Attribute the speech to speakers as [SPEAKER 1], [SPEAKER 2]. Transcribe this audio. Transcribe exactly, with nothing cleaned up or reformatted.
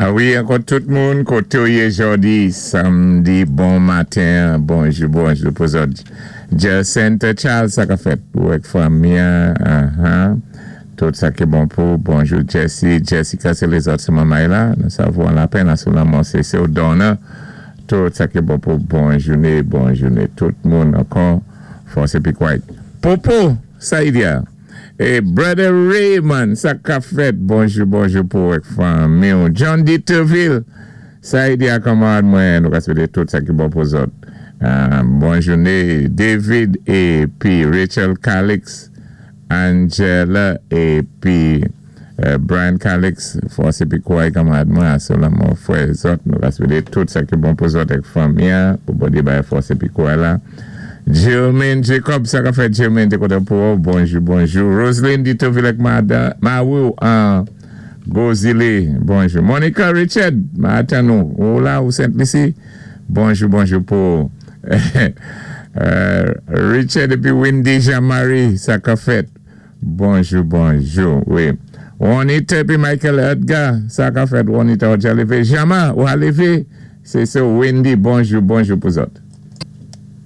[SPEAKER 1] A wi, ankò tout moun, koté ou yé jòdi, sanmdi, bon maten, bonjou, bonjou pou zòt. Jacinthe Charles, sa ka fèt pou èk fanmi, uh-huh. Tout sa ki bon pou, bonjou Jesse, Jessica, sé lézòt sé manmay la, nou savon la penn sou lanmò sé sé Donna, tout sa ki bon pou, bon jouné, bon jouné, tout moun ankò, fòs épi kouway. Popo, sa y diya. É Brother Raymond, sa ka fèt, bonjou, bonjou pou èk fanmi. John Dieterville, sa y diya kanmarad mwen, nou ka swété tout sa ki bon pou zòt. Euh, bon jouné, David épi Rachel Calix, Angela épi euh, Brian Calix, fòs épi kouway kanmarad mwen, sou lanmò fwè zòt, nou ka swété tout sa ki bon pou zòt èk fanmi, pou Bondyé bay fòs épi kouway la. Jermaine Jacob, sa ka fèt Jermaine té kontan pou bonjou, bonjou. Roselyne Dieterville ak Mawou an Gozile, bonjou. Monica Richard, ma atan nou, ou la ou Saint-Lucie, bonjou, bonjou pou Richard épi Wendy Jean-Marie, sa ka fèt, bonjou, bonjou, wi. Juanita épi Michael Edgar, sa ka fèt, Juanita ou dja lévé. Jama, ou a lévé, sé sé Wendy, bonjou, bonjou pou zòt.